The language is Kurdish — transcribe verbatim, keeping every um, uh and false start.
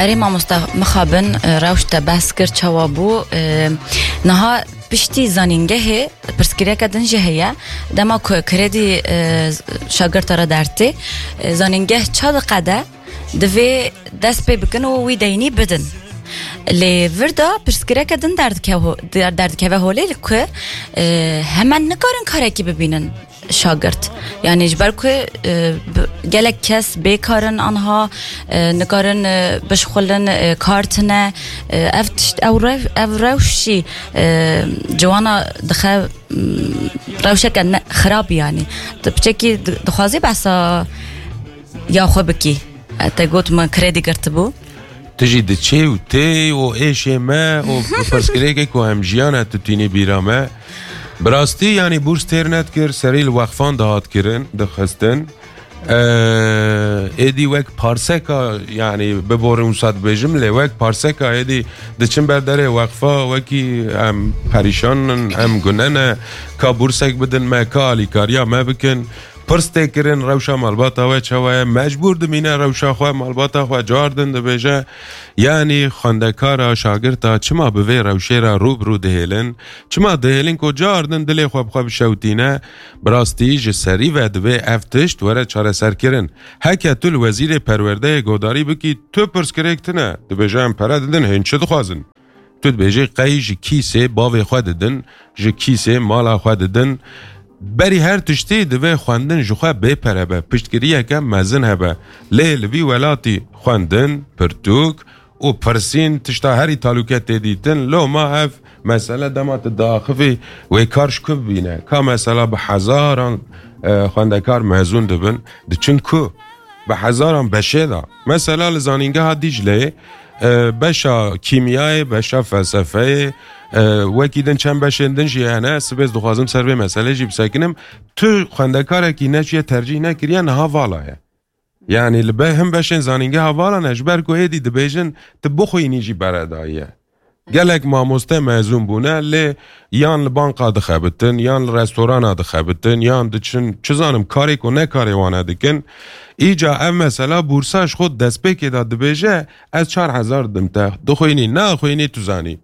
Erê mamoste, mixabin, e, rewş te behs kir, çawa bû? E, niha piştî zanîngehê pirsgirêke din jî heye. Dema ku kredî, e, şagirta re dertê, e, zanîngeh ça diqede, divê dest pê bikin û wî deynî bidin. Lê vir de pirsgirêke din derdike ho-, der-, derdikeve holê li ku, e, hemen nikarin karekî bibînin şagirt. Yani ji ber ku, e, bi-, gelek kes bêkar in anha, e, nikarin, e, bişxulin, e, kar tine. E, ev tişt, ew rew-, ev rewş jî, e, ciwana dixe, m, rewşeke ne, xirab yani. Di piçekî di-, dixwazî behsa ya xwe bikî. E, te got min kredî girtibû. Tu jî diçê û tê û êşê me û pirsgirêkê ku em jiyana tu tînî bîra me. Bi rastî, yanî bûrs têr nedikir, serî li wexfan dihat kirin, dixistin. Eee, êdî wek parseka, yanî biborin wisa dibêjim, lê wek parseka êdî diçin ber derê wexfa, wekî em perîşan in, em gune ne, ka bûrsek bidin me, ka alîkariya me bikin. Pirs tê kirin, rewşa malbata we çawa ye? Mecbûr dimîne rewşa xwe, malbata xwe car din dibêje. Yanî xwendekara, şagirta çima bi vê rewşê re rû bi rû dihêlin? Çima dihêlin ku car din dilê xwe bi xwe bişewtîne? Bi rastî ji serî ve divê ev tişt were çareserkirin. Heke tu li Wezîrê Perwerdeyê godarî bikî, tu pirsgirêk tune. Dibêje, em pere didin, hên çi dixwazin? Tu dibêjî qey ji kîsê bavê xwe didin, ji kîsê mala xwe didin. Berî her tiştî divê xwendin ji xwe bê pere be, piştgiriyeke mezin hebe. Lê li vî welatî xwendin, pirtûk û pirsîn tişta herî talûke tê dîtin. Loma ev mesele dema tu diaxivî wê kar ji ku bibîne? Ka mesela bi hezaran, e, xwendekar mezûn dibin, diçin ku? Bi hezaran beşê de. Mesela li zanîngeha Dîcleyê, e, beşa kîmyayê, beşa felsefeyê, e, wekî din çend beşên din jî hene. Sibê ez dixwazim ser vê meselê jî bisekinim. Tu xwendekarekî neçiye tercîh nekiriye, niha vala ye. Yanî li be-, hin beşên zanîngeha vala ne, ji ber ku êdî dibêjin tu bixwînî jî beredayî ye. Gelek mamoste mezûn bûne, lê yan li banka dixebitin, yan li restorana dixebitin, yan diçin, çi zanim, karê ku ne karê wane dikin. Îca ev mesela bûrsa ji xwe destpêkê de dibêje, ez çar hezar didim te, dixwînî, naxwînî, tu zanî.